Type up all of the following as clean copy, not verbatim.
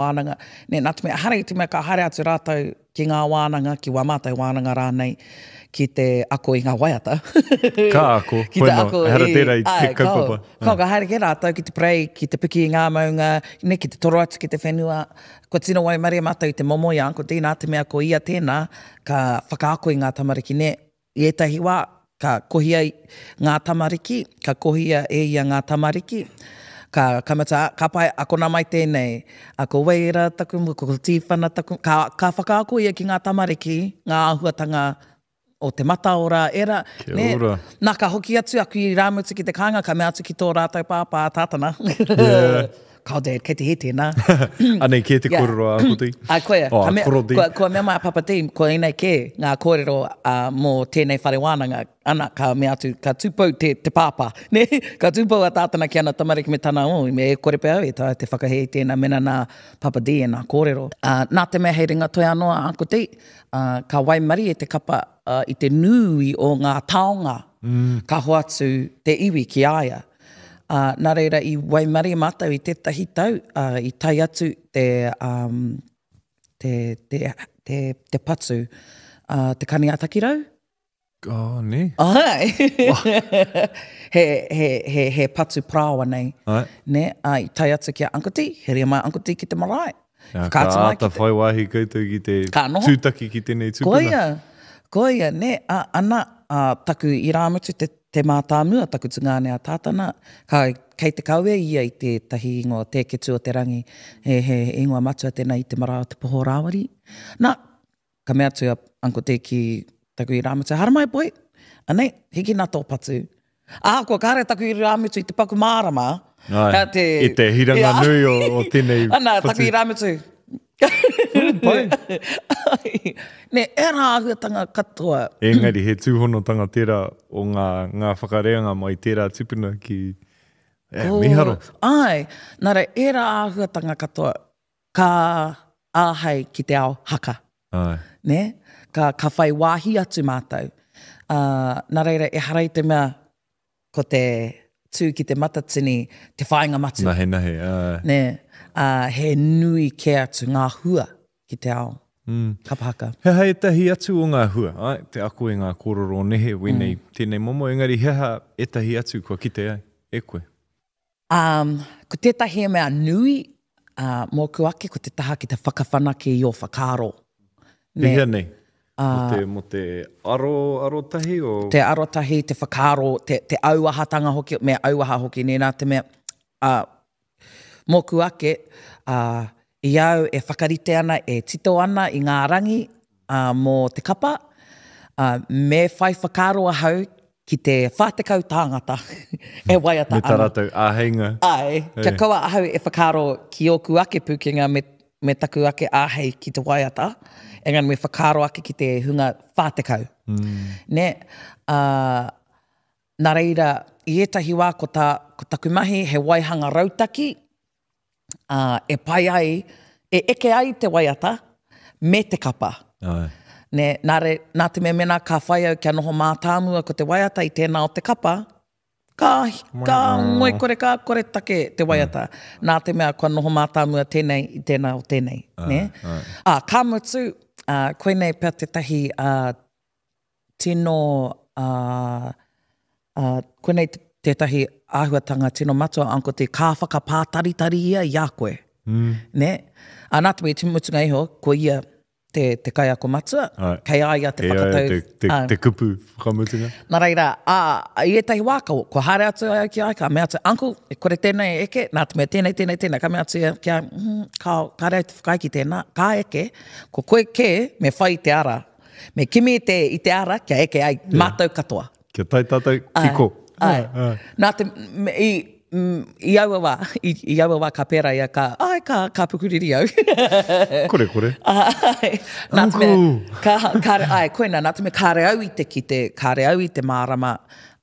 Wānanga. Nē, nā te mea, ehara i te mea ka haere atu rātou ki ngā wānanga, ki wā mātou wānanga rānei, ki te ako i ngā waiata. Ka ako, ki te ako ehara tērā i te kaupapa. Kao, ka haere kē rātou ki te parei, ki te piki i ngā maunga, nē, ki te toro atu ki te whenua. Kua tino waimarie mātou i te momo i a Uncle Dee, nā te mea ko ia tēnā ka whakaako i ngā tamariki, nē, I ētahi wā, ka kohia ngā tamariki, ka kohia e ia ngā tamariki, ka, ka mutu, ka pai, akona mai tēnei, a ko Weira taku, ko Tīwhana taku, ka, ka whakaako ia ki ngā tamariki ngā āhuatanga o te mataora, ērā, Kia nē. ora. Nā, ka hoki atu aku irāmutu ki te kāinga, ka mea atu ki tō rātou pāpā, a Tātana. Yeah. Kao Dad, kei te hē tēnā. Anei kē te kōrero a Uncle Dee. Ai, koia. Oh, a Koro Dee. Kua, kua mea mai a Papa Dee, ko ēnei kē ngā kōrero uh, mō tēnei whare wānanga. Ana, ka mea atu, ka tūpou te, te pāpā. Ne? Ka tūpou a Tātana ki ana tamariki me tana, oh, me e kore pea au e taea te whakahē i tēnā mena nā Papa Dee ēnā kōrero. Uh, nā te mea hei ringa toi anō a Uncle Dee, uh, ka waimarie te kapa uh, i te nui o ngā taonga mm. ka hoatu te iwi ki a ia. Ā, nā reira i waimarie mātou i tētahi tau, ā, i tae atu te, um, te, te, te, te patu, ā, te kani a Takirau. Oh, nē. Ai. he, he, he, he patu parāoa nei. Ai. Nē, ā, i tae atu ki a Uncle Dee, heria mai a Uncle Dee ki te marae. Jā, ka āta whai wāhi koutou ki te tūtaki ki tēnei tupuna. Koia, koia, nē, ā, ana, ā, taku irāmutu te Te mātāmua taku tungāne a Tātana, ka, kei te kawe ia i tētahi ingoa Te Ketu o te Rangi, he, he ingoa matua tēnā i te marae o Te Poho Rāwiri. Nā, ka mea atu a Uncle Dee ki taku irāmutu, Haramai boy, anei, hikina tō patu. Ahakoa kāre taku irāmutu i te paku mārama, Ai, te, i te hiranga nui o, o tēnei Ana, patu. taku irāmutu. Pai. Nē, ērā āhuatanga katoa. Engari, he tūhonotanga tērā o ngā, ngā whakareanga mai tērā tipuna ki, e, oh, miharo. Ai, nā reira, ērā āhuatanga katoa ka āhei ki te ao haka. Ai. Nē? Ka, ka whai wāhi atu mātou. Uh, nā reira, ehara i te mea ko te tū ki te matatini te whāinga matua. Nahenahe, āe. Nē, ā, he nui kē atu ngā hua ki te ao mm. kapa haka. He aha ētahi atu o ngā hua? Āe, te ako i ngā kōrero o nehe, wēnei, mm. tēnei momo, engari he aha ētahi atu kua kite ai e koe? Um, ko tētahi mea nui uh, mōku ake, ko te taha ki te whakawhanake i ō whakaaro. Pēhea nei? Mō te, mō te aro, arotahi o... Te arotahi, te whakaaro, te, te auahatanga hoki, me auaha hoki, nē, nā te mea, uh, mōku ake, uh, i au e whakarite ana, e tito ana i ngā rangi uh, mō te kapa, uh, me whai whakaaro ahau ki te 40 tāngata e waiata ana. Me tā rātou āheinga. Āe, kia kaua ahau e whakaaro ki ōku ake pūkenga me, me taku ake āhei ki te waiata, engari me whakaaro ake ki te hunga 40. Mm. Nē? Ā, nā reira, i ētahi wā ko, tā, ko taku mahi he waihanga rautaki, ā, e pai ai, e eke ai te waiata me te kapa. Āe. Nē, nā re, nā te mea mēnā ka whai au kia noho mātāmua ko te waiata i tēnā o te kapa, ka, ka ngoikore, ka koretake te waiata. Nā te mea kua noho mātāmua tēnei i tēnā o tēnei. Nē? Ā, ka mutu, ā, koinei pea tētahi, ā, tino, ā, ā, koinei tētahi āhuatanga tino matua, Uncle T, ka whakapātaritari ia i a koe. Mm. Nē? Ā, nā te mea i te mutunga iho, ko ia te, te kaiako matua, Ai. kei a ia te Kei a ia whakatau. te, te, ā. te kupu whakamutunga. Nā reira, ā, i ētahi wā, ka, kua haere atu au ki a ia, ka mea atu, Uncle, e kore tēnei e eke, nā te mea tēnei, tēnei, tēnei. Ka mea atu ia ki a, mm, kāo, kāre au te whakaae ki tēnā, ka eke, ko koe kē me whai i te ara. Me kimi i te, i te ara kia eke ai yeah. mātou katoa. Kia tae tātou ki ko. Ai. Ai. Nā te, me, i, mm, i aua wā, i, i aua wā ka pērā ia, ka, ai, ka, ka pukuriri au. kore, kore. Ai. Nā te mea, ka, kāre, ai, koina, nā te mea kāre au i te kite, kāre au i te mārama,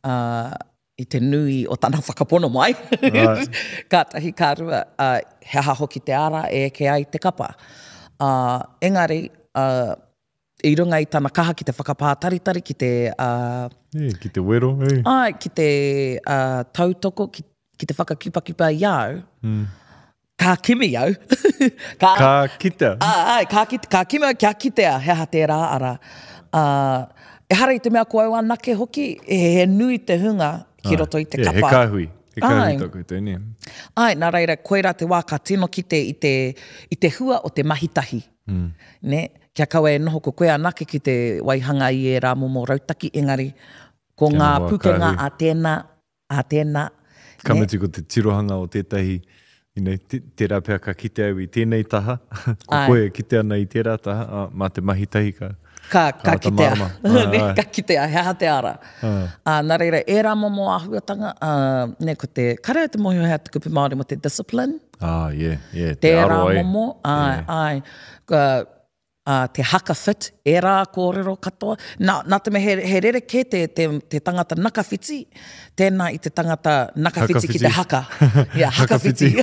uh, i te nui o tana whakapono mai. Right. Kātahi ka rua, uh, he aha hoki te ara e eke ai te kapa. Uh, engari, uh, i runga i tana kaha ki te whakapātaritari, ki te... Uh, e, ki te wero, e. Ai, ki te uh, tautoko, ki, ki te whakakipakipa i au, mm. Ka kimi au. Ka, ka kitea. Ā, āe, ka, kite, ka kimi au kia kitea he aha tērā ara. Ā, ehara i te mea ko au anake hoki, he, he nui te hunga ki roto i te kapa. Yeah, he kāhui. He kāhui tā koutou, nē. Āe, nā reira, koirā te wā ka tino kite i te, i te hua o te mahi tahi. Mm. Nē? Kia kaua e noho ko koe anake ki te waihanga i ērā momo rautaki, engari ko ngā pukenga a tēnā, a tēnā. Ka mutu ko te tirohanga o tētahi, you know, tērā pea ka kite au i tēnei taha, ko koe e kite ana i tērā taha, ā, mā te mahi tahi ka, ka, ka, ka kitea. Ā, ka kitea, he aha te ara. Ā, nā reira, ērā momo āhuatanga, ā, nē, ko te, kāre au te mōhio he aha te kupu Māori mō te discipline. Ah, yeah, yeah, te aro ai. Tērā momo, āe, āe. Ka, ā, te haka fit, ērā kōrero katoa. Nā, nā te mea he, he rerekē te, te, te tangata nakawhiti, tēnā i te tangata nakawhiti ki te haka. Yeah, hakawhiti.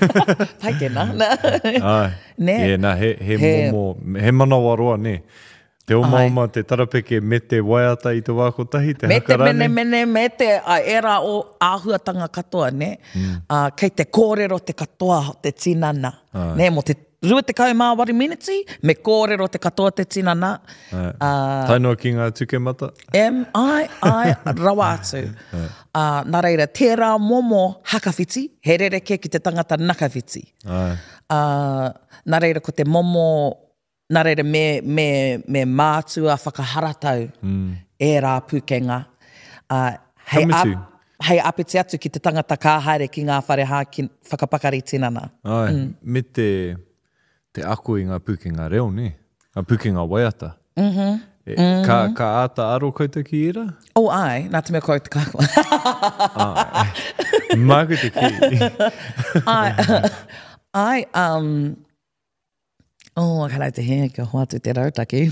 Pai tēnā. Āe. Nē? Yeah, nā, he, he, he momo, he manawaroa, nē. Te omaoma, te tarapeke me te waiata i te wā kotahi, te me haka rānei. Me te menemene, me te, ā, ērā o āhuatanga katoa, nē. Mm. Ā, kei te kōrero te katoa o te tinana, nē, mō te 28 miniti, me kōrero te katoa te tinana. Ā. Tae noa ki ngā tukemata. Em, āe, āe, rawa atu. Ā, nā reira, tērā momo hakawhiti, he rerekē ki te tangata nakawhiti. Āe. Ā, nā reira, ko te momo, nā reira, me, me, me mātua whakaharatau ērā pūkenga. Ā, hei Ka mutu. Hei āpiti atu ki te tangata ka haere ki ngā whare hāki whakapakari tinana. Āe, me te, te ako i ngā pūkenga reo, nē? Ngā pūkenga waiata. Mm -hmm. E, ka, ka āta aro koutou ki ērā? Oh, āe, nā te mea ko au te kākua. Āe. Māku te kī. Āe, āe, um, Oh, ka rau te hē, kia hoatu te rautaki.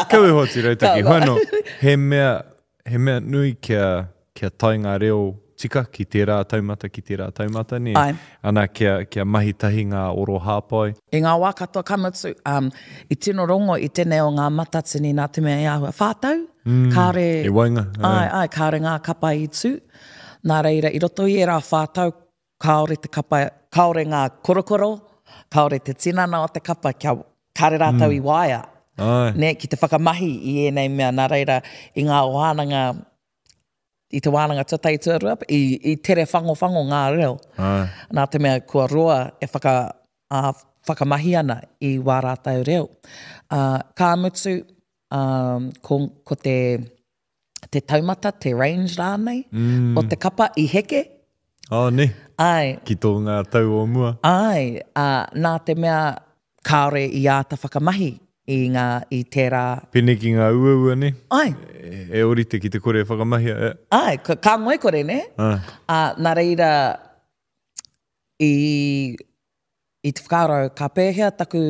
Kau e hoatu rautaki. Hoi anō, he mea, he mea nui kia, kia tae ngā reo tika ki tērā taumata, ki tērā taumata, nē? Āe. Ana, kia, kia mahi tahi ngā oro hāpai. I ngā wā katoa, ka mutu, um, i tino rongo i tēnei o ngā matatini nā te mea i āhua whātau, mm, kāore... E waenga. Āe, āe, kāore ngā kapa i tū. Nā reira, i roto i ērā whātau, Kāore te kapa, kāore ngā korokoro, kāore te tinana o te kapa kia, kāre rātou mm. i waea. Ai. Ne, ki te whakamahi i ēnei mea. Nā reira, i ngā wānanga, i te wānanga tuatahi tuarua, i, i tere whangowhango ngā reo. Ai. Nā te mea kua roa e whaka, ā, whakamahi ana i wā rātou reo. Ā, ka mutu, ā, ko, ko te, te taumata, te range rānei, mm. o te kapa i heke. Oh, ne. Ai. Ki tō ngā tau o mua. Ai, ā, nā te mea kāore i āta whakamahi i ngā, i tērā. Pēnei ki ngā uaua, ne? Ai. E, e orite ki te kore e whakamahia, e. Ai, ka, ka ngoikore, ne? Ai. Ā, nā reira, i, i te whakaaro ka pēhea taku,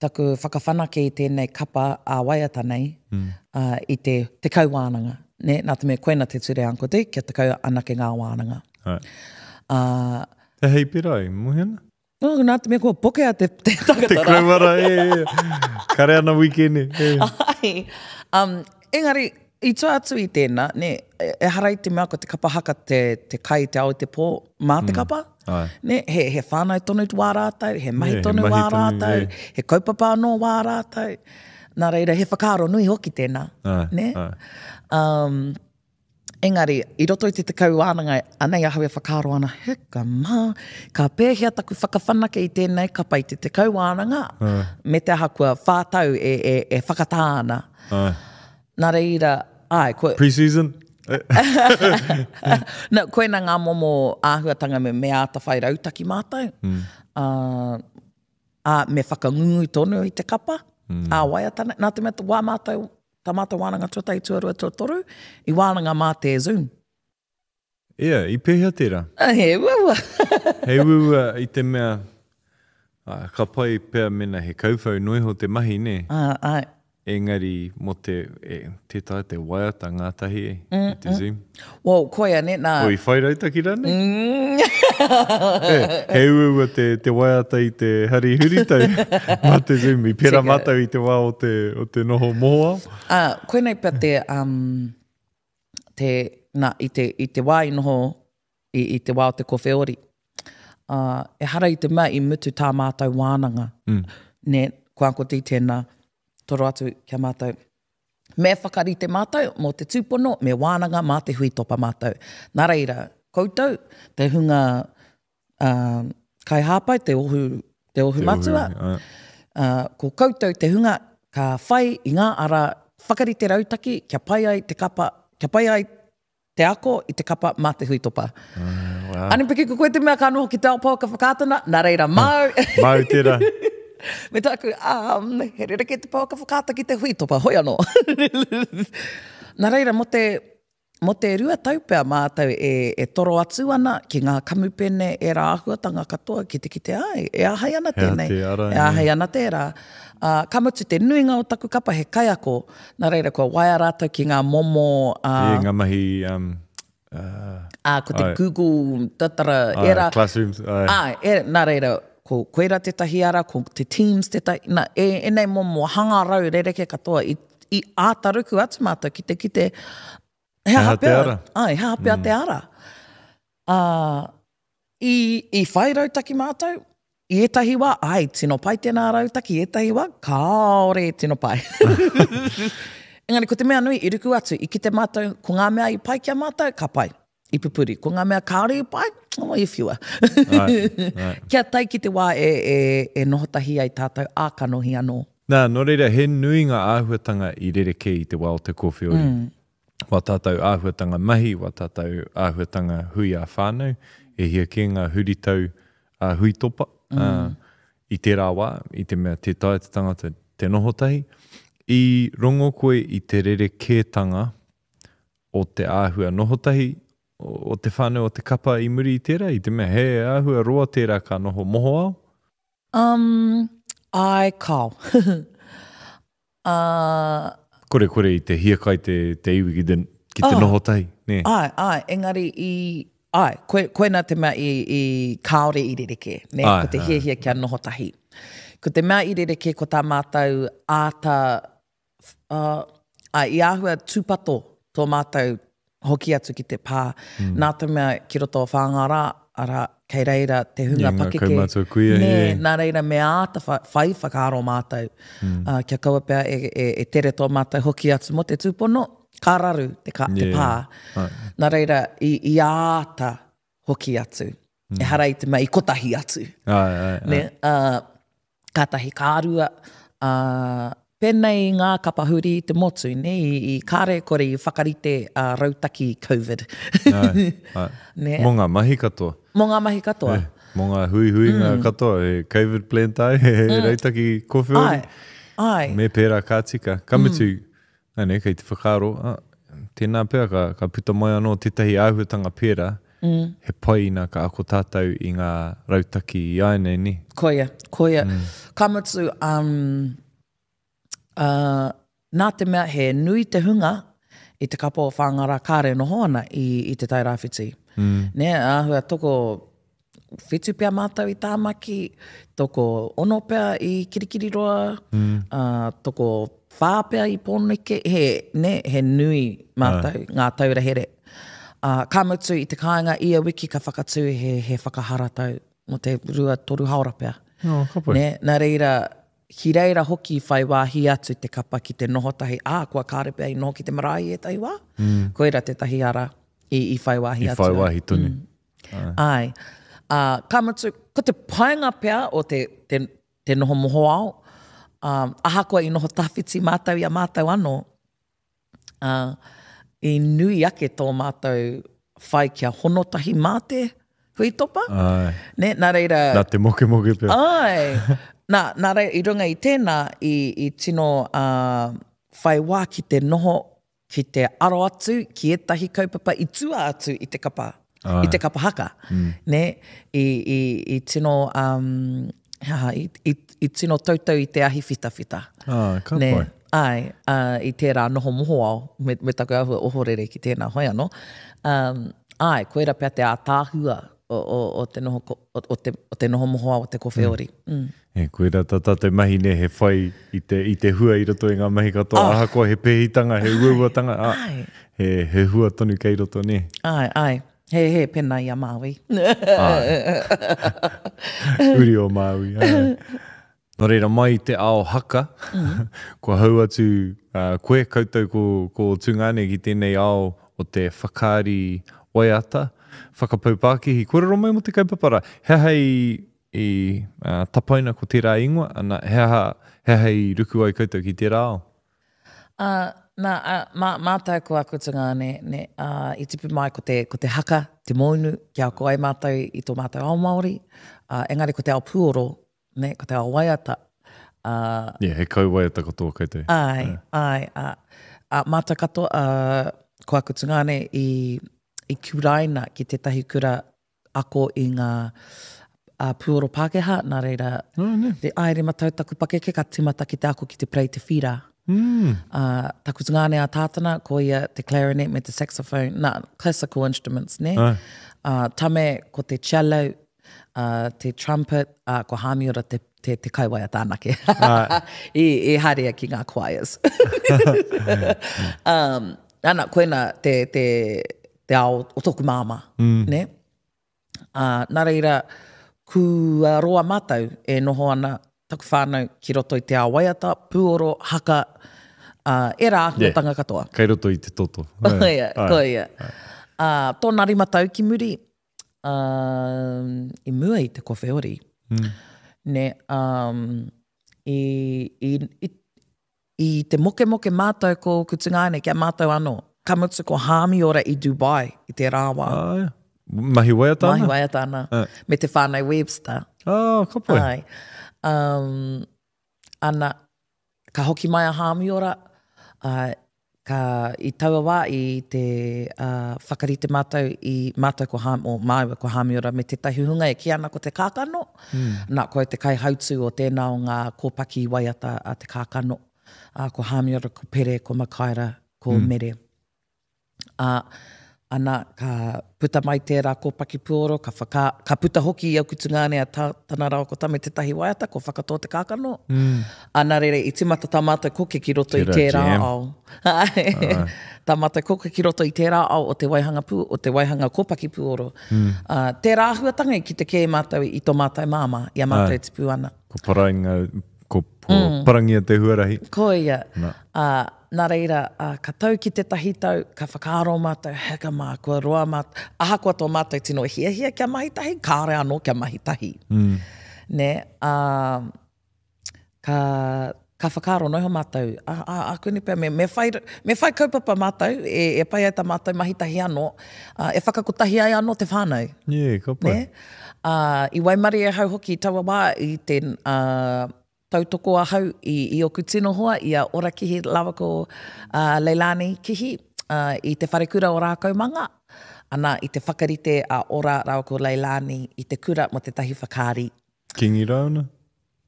taku whakawhanake i tēnei kapa ā-waiata nei mm. uh, i te tekau wānanga. Ne? Nā te mea koina te ture Uncle Dick, kia tekau anake ngā wānanga. Right. Uh, Te hei pera i mohi ana? Oh, nā te mea kua pokea te, te tangata Te krouara, e, e. Kare ana wikene. E. Ai. Um, engari, i tua atu i tēnā, ne, ehara i te mea ko te kapa haka te, te kai te ao i te pō mā te mm. kapa. Ai. Ne, he, he whānau tonu wā rātou, he mahi yeah, tonu he mahi wā rātou, yeah. he kaupapa anō wā rātou. Nā reira, he whakaaro nui hoki tēnā. Ai, ne? Ai. Um, engari, i roto i te tekau wānanga, anei ahau e whakaaro ana, heka mā, ka pēhea taku whakawhanake i tēnei kapa i te tekau wānanga, Ai. me te aha kua whātau e, e, e whakatā ana. Ai. Nā reira, āe, kua... Pre-season? No, koina ngā momo āhuatanga me, me āta whai rautaki mātou. Mm. Ā, ā, me whakangungu tonu i te kapa, mm. ā waiata nei. Nā te mea, wā mātou, tā mātou wānanga tuatahi, tuarua, tuatoru, i wānanga mā te Zoom. Ia, i pēhea tērā? He uaua. He uaua i te mea, ka pai pea mena he kauwhau noa iho te mahi, nē? Ā, āe. Engari mō te, e, tē taea te waiata ngātahi e, i te Zoom. Well, koia, nē, nā. O, i whai rautaki rānei? He, he uaua te, te waiata i te hari huritau mā te Zoom. I pērā mātou i te wā o te, o te noho mohoao. Ā, koinei pea te, um, te, nā, i te, i te wā i noho, i, i te wā o te kowheori. Ā, ehara i te mea i mutu tā mātou wānanga, nē, ko Uncle Dee tēnā, toro atu ki a mātou. Me whakarite mātou mō te tūpono, me wānanga mā te huitopa mātou. Nā reira, koutou, te hunga ā, kaihāpai, te ohu, te ohu matua, ā, ko koutou te hunga ka whai i ngā ara whakarite rautaki kia pai ai te kapa, kia pai ai te ako i te kapa mā te huitopa. Uh, wow. Anipiki, ko koe te mea ka noho ki te ao pouaka whakaata, nā reira, māu. Māu tērā. Me tāku, um, he rerekē te pouaka whakaata ki te huitopa, hoi anō. nā reira, mō te, mō te 2 tau pea mātou e, e toro atu ana ki ngā kamupene ērā āhuatanga katoa ki te kite ai, e āhei ana tēnei, te ara, e āhei ana tērā. Ā, ka mutu te nuinga o taku kapa he kaiako, nā reira kua waea rātou ki ngā momo, ā, E, ngā mahi, um, ā, ā, ko te Ai. Google, tatara, ai, ērā. classrooms, ai. Āe, e, nā reira, ko koirā tētahi ara, ko te Teams tētahi, nā, e, ēnei momo hangarau rerekē katoa i, i āta ruku atu mātou ki te kite, he aha te pea, ara? Āe, he aha pea te ara. Ā, i, i whai rautaki mātou, i ētahi wā, āe, tino pai tēnā rautaki, i ētahi wā, kāore e tino pai. Engari, ko te mea nui, i ruku atu, i kite mātou, ko ngā mea i pai ki a mātou, ka pai, i pupuri. Ko ngā mea kāore i pai, oh, i whiua. Āe, āe. Kia tae ki te wā e, e, e noho tahi ai tātou ā-kanohi anō. Nā, nō reira, he nui ngā āhuatanga i rerekē i te wā o te kōwhiori. Wā tātou āhuatanga mahi, wā tātou āhuatanga hui ā-whānau, e hia kē ngā huritau ā-huitopa i tērā wā, i te mea tē taea te tangata te noho tahi. I rongo koe i te rerekētanga o te āhua noho tahi o te whānau o te kapa i muri i tērā, i te mea he āhua roa tērā ka noho mohoao? Um, āe, kāo. Ā. Korekore i te hiakai te, te iwi ki te, ki te noho tahi, nē? Āe, āe, engari i, āe, koe, koinā te mea i, i, kāore i rerekē, nē, Āe, ko te āe. hiahia kia noho tahi. Ko te mea i rerekē ko tā mātou āta, ā, āe, i āhua tūpato tō mātou hoki atu ki te pā, mm. nā te mea ki roto o Whāngārā, arā, kei reira te hunga yeah, pakeke. Kaumātua kuia, nē, yeah. nā reira me āta whai whakaaro mātou, mm. uh, kia kaua pea e, e, e tere tō mātou hoki atu mō te tūpono, ka raru te, ka, yeah. te pā. Right. Nā reira, i, i āta hoki atu. Mm. Ehara i te mea i kotahi atu. Ai, ai, ai. Ne? Uh, kātahi ka rua, uh, pēnei i ngā kapa huri i te motu, ne? I, i kāre kore i whakarite uh, rautaki COVID. Ai, ai. Ne? Mō ngā mahi katoa. Mō ngā mahi katoa. Eh, mō ngā huihuinga mm. katoa, he COVID plan tai, he mm. rautaki kowheori. Ai, ai. Me pērā ka tika. Ka mutu, mm. Nē, kei te whakaaro, ah, tēnā pea ka, ka puta mai anō tētahi āhuatanga pērā, mm. he pai ina ka ako tātou i ngā rautaki i āianei, nē? Koia, koia. Mm. Ka mutu, um, uh, nā te mea he nui te hunga i te kapa o Whāngārā kāre noho ana i, i Te Tairāwhiti. Mm. Nē, āhua toko whitu pea mātou i Tāmaki, toko ono pea i Kirikiriroa, mm. uh, toko whā pea i Pōneke, he, ne, he nui mātou, ngā taura here. Uh, ka mutu i te kāinga ia wiki ka whakatū he, he whakaharatau mō te 2-3 haora pea. Oh, ka pai. Ne, nā reira, ki reira hoki whai wāhi atu te kapa ki te noho tahi, ā, kua kāre pea i noho ki te marae i ētahi wā. Mm. Koira tētahi ara i, i whai wāhi I atu. whai wāhi tonu. Mm. Āe. Ā, ka mutu, ko te painga pea o te, te, te noho mohoao, ā, ahakoa i noho tawhiti mātou i a mātou anō, ā, i nui ake tō mātou whai kia hono tahi mā te huitopa. Āe. Nē, nā reira... Nā te mokemoke pea. Āe. Nā, nā reira, i runga i tēnā, i, i tino ā, whai wā ki te noho ki te aro atu ki ētahi kaupapa i tua atu i te kapa, i te kapa haka. Mm. Nē? I, i, i tino, um, he aha, i, i, i tino tautau i te ahi whitawhita. Ah, ka Nē? pai. Āe, uh, i tērā noho mohoao, me, me taku āhua ohorere ki tēnā hoi anō. Um, āe, koira pea te ātaahua o, o, o, te noho, o, o, te, o te noho mohoao o te kowheori. Mm. Mm. E, koirā tā tātou mahi nei, he whai i te, i te hua i roto i ngā mahi katoa, Oh. ahakoa he pēhitanga, he uauatanga, ā, Āe. he, he hua tonu kei roto, nē? Āe, āe. He, he, pēnā i a Māui. Āe. Uri o Māui, āe. Nō reira, mai i te ao haka, kua hou atu koe, koutou ko, ko ō tungāne ki tēnei ao o te whakaari waiata, whakapau pākihi. Kōrero mai mō te kaupapa rā. He aha i, i tapaina ko tērā ingoa, ana, he aha, he aha i ruku ai koutou ki tērā ao? Ā, nā, ā, mā, mātou ko aku tungāne, nē, ā, i tipu mai ko te, ko te haka, te mōunu, kia ako ai mātou i tō mātou ao Māori, ā, engari ko te ao puoro, nē, ko te ao waiata, ā. Yeah, he kauwaiata katoa koutou. Āe, āe, ā, ā, mātou katoa, ā, ko aku tungāne i, i kuraina ki tētahi kura ako i ngā puoro Pākehā, nā reira, oh, ne. te āe matau taku pakeke ka timata ki te ako ki te play te whira. Mm. Uh, taku tungāne a Tātana, ko ia te clarinet me te saxophone, nā, classical instruments, ne? Ah. Uh, tame, ko te cello, uh, te trumpet, uh, ko Hāmiora te, te, te kaiwaiata anake. Ah. I, i haere ki ngā choirs. um, ana, koina te, te, te ao o tōku māmā, mm. ne? Ā, nā reira, kua roa mātou e noho ana taku whānau ki roto i te ao waiata, pūoro, haka, ā, ērā āhuatanga yeah. katoa. Kei roto i te toto. Koia, koia. Ā, tōna rima tau ki muri, ā, i mua i te kowheori, mm. ne, um, i, i, i, I te mokemoke mātou ko ōku tungāne ki a mātou anō. Ka mutu ko Hāmiora i Dubai i tērā wā. Āe. Mahi waiata ana? Mahi waiata ana. Uh. Me te whānau Webster. Oh, ka pai. Āe. Um, ana, ka hoki mai a Hāmiora, uh, ka, i taua wā i te uh, whakarite mātou i mātou ko Hām, o māua ko Hāmiora me tētahi hunga e kī ana ko te kākano. Nā, ko au te kaihautū o tēnā o ngā kōpaki waiata a Te Kākano, ā, ko Hāmiora, ko Pere, ko Makaira, ko Mere. Ā, ana, ka puta mai tērā kōpaki puoro, ka whaka, ka puta hoki i aku tungāne a Tā, Tana rāua ko Tame tētahi waiata, ko Whakatō Te Kākano. Ā, nā reira, i tīmata tā mātou koke ki roto i tērā ao. Āe. Tā mātou koke ki roto i tērā ao o te waihanga pū, o te waihanga kōpaki puoro. Mm. Ā, tērā āhuatanga i kite kē mātou i tō mātou māmā, i a mātou e tipu ana. Ko parainga, ko, ko mm. parangia te huarahi. Koia. Nā. Ā, nā reira, ā, ka tau ki tētahi tau, ka whakaaro mātou, heka mā, kua roa mātou, ahakoa tō mātou tino hiahia kia mahi tahi, kāore anō kia mahi tahi. Mm. Nē, ā, ka, ka whakaaro noa iho mātou, a, a, ākuanei pea, me, me, whai, me whai kaupapa mātou, e, e pai ai tā mātou mahi tahi anō, ā, e whakakotahi ai anō te whānau. Yeah, ka pai. Nē? Ā, i waimarie ahau hoki i taua wā i te, ā, tautoko ahau i, i oku tino hoa, i a Ora Kihi rāua ko, ā, Leilani Kihi, ā, i te wharekura o Rākaumanga, ana, i te whakarite a Ora rāua ko Leilani i te kura mō tētahi whakaari. Kingi Rauna?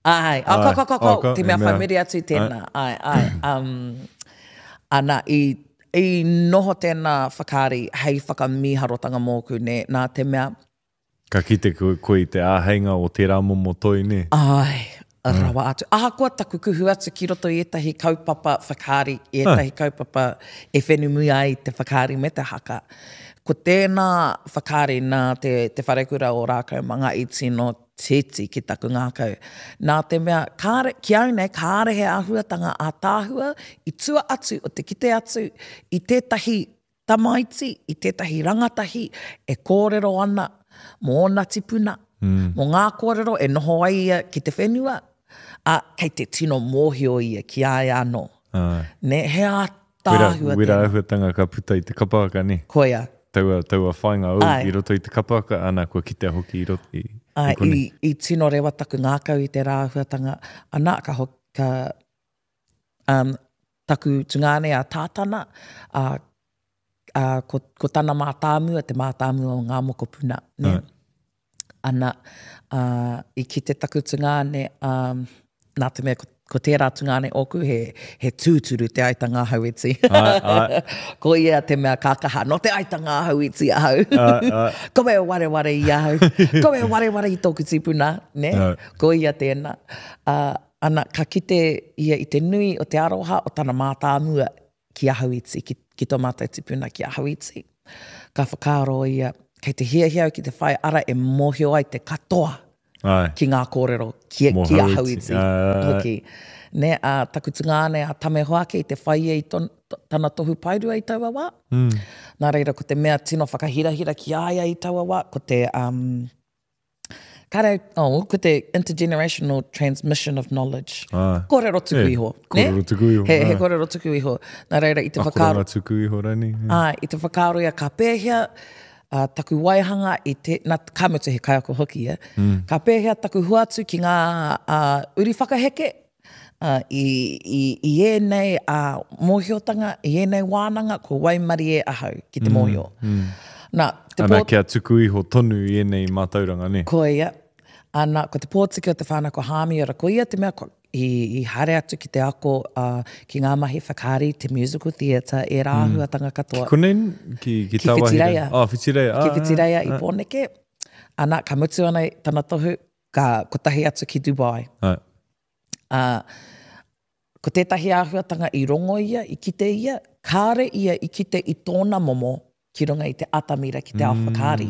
Āe, oh, ko, ko, ko, ko, te mea whai muri atu tēnā, āe, āe. Um, ana, i, i noho tēnā whakaari hei whakamīharotanga mōku, nē, nā te mea... Ka kite koe, koe i te āheinga o tērā momo toi, nē? Āe, rawa atu. Ahakoa taku kuhu atu ki roto i ētahi kaupapa whakaari, i ētahi kaupapa e whenumui ai te whakaari me te haka, ko tēnā whakaari nā te, te wharekura o Rākaumanga i tino titi ki taku ngākau. Nā te mea, kāre, ki au nei, kāre he āhuatanga ātaahua i tua atu o te kite atu i tētahi tamaiti, i tētahi rangatahi e kōrero ana mō ōna tipuna, mō ngā kōrero e noho ai ia ki te whenua, ā, kei te tino mōhio ia ki a ia anō. Nē, he ātaahua tēnā. Wera āhuatanga ka puta i te kapa haka, nē? Koia. Taua, taua whāinga ou i roto i te kapa haka, ana, kua kitea hoki i roto, i, i konei. I, i tino rewa taku ngākau i tērā āhuatanga, ana, ka, ka, um, taku tungāne a Tātana, ā, ā, ko, ko tana mātāmua, te mātāmua o ngā mokopuna, nē. Ana, ā, i kite taku tungāne, ā, nā te mea ko, ko tērā tungāne ōku, he, he tūturu te aitanga a Hauiti. Āe, āe. Ko ia te mea kākaha, nō te aitanga a Hauiti ahau. Āe, āe. Ko e wareware i ahau. Ko e wareware i tōku tipuna, nē? Āe. Ko ia tēnā. Ā, ana, ka kite ia i te nui o te aroha o tana mātāmua ki a Hauiti, ki, ki tō mātou tipuna ki a Hauiti. Ka whakaaro ia, Kei te hiahia au ki te whai ara e mōhio ai te katoa Āe. ki ngā kōrero, ki, Mō ki a Hauiti. Hauiti Āe, āe. hoki. Nē, ā, taku tungāne a Tame Hoake i te whai ia i ton, tana tohu paerua i taua wā. Mm. Nā reira, ko te mea tino whakahirahira ki a ia i taua wā, ko te, um, Kāre au, oh, ko te intergenerational transmission of knowledge. Ah. Kōrero tuku Eh, iho. ne? kōrero tuku iho, He, he ah. kōrero tuku iho. Nā reira, i te whakaaro... Akoranga tuku iho rānei. Ā, i te whakaaro ia ka pēhea uh, taku waihanga i te... Nā, ka mutu he kaiako hoki ia. Mm. Ka pēhea taku hoatu ki ngā uh, uri whakaheke uh, i, i, i ēnei uh, mōhiotanga, i ēnei wānanga, kua waimarie ahau ki te mōhio. Mm. Nā, te Ana, pō... kia tuku iho tonu i ēnei mātauranga, nē? Koia. Ana, ko te pōtiki o te whānau ko Hāmiora, ko ia te mea kua, i, i haere atu ki te ako uh, ki ngā mahi whakaari, te musical theatre, ērā Mm. āhuatanga katoa. Ki konei, ki, ki, Ki tāwāhi Whitireia. Oh, Whitireia. Ki Ah, Whitireia ah, i Pōneke. Ana, ka mutu ana tana tohu, ka kotahi atu ki Dubai. Ah. Ā, ko tētahi āhuatanga i rongo ia, i kite ia, kāre ia i kite i tōna momo ki runga i te atamira ki te ao whakaari.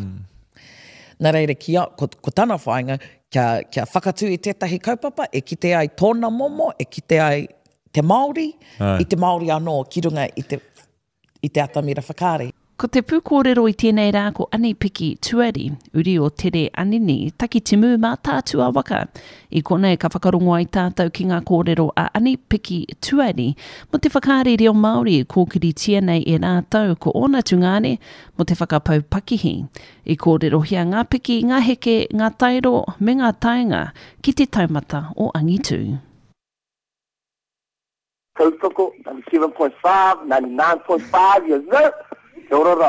Nā reira, ki a, ko, ko tana whāinga, kia, kia whakatū i tētahi kaupapa e kite ai tōna momo, e kite ai te Māori, Āe. i te Māori anō ki runga i te, i te atamira whakaari. Ko te pūkōrero i tēnei rā ko Ani-Piki Tuari, uri o Tere Anini, Takitimu Mātaatua waka. I konei ka whakarongo ai tātou ki ngā kōrero a Ani-Piki Tuari mō te whakaari reo Māori e kōkiritia nei e rātou ko ōna tungāne mō te whakapau pakihi. I kōrerohia ngā piki, ngā heke, ngā taero me ngā taenga ki te taumata o angitu. Tautoko, 97.5, 99.5, yes sir! Kia ora ra.